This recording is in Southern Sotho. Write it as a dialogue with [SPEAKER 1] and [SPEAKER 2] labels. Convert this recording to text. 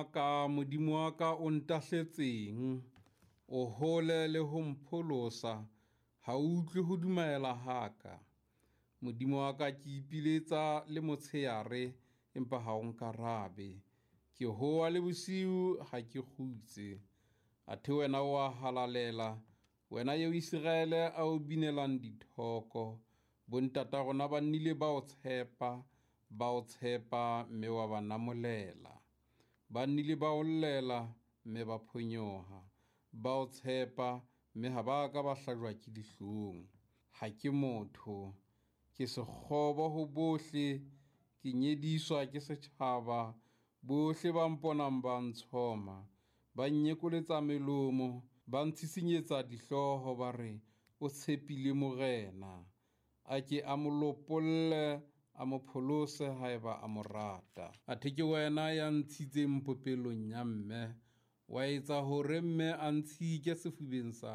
[SPEAKER 1] wa ka, Modimo wa ka, o ntahletseng? O hole le ho mpholosa, ha o utlwe ho dumaela ha ka. Modimo wa ka, ke ipiletsa le motshehare, empa ha o nkarabe. Ke howa le bosiu, ha ke kgutse. Athe wena o a halalela, wena eo Iseraele a o binelang dithoko. Bontata rona ba nnile ba o tshepa, ba o tshepa, mme wa ba namolela. Ba nnile ba o llela, mme ba phonyoha. Ba o tshepa, mme ha ba ka ba hlajwa ke dihlong. Ha ke motho, ke sekgobo ho bohle, ke nyediswa ke setjhaba. Bohle ba mponang ba ntshoma, ba nnyekoletsa melomo, ba ntshisinyetsa dihlooho, ba re, o tshepile Morena, a ke a mo lopolle, a mo pholose haeba a mo rata. Athe ke wena ya ntshitseng popelong ya mme, wa etsa hore mme a ntshike sefubeng sa.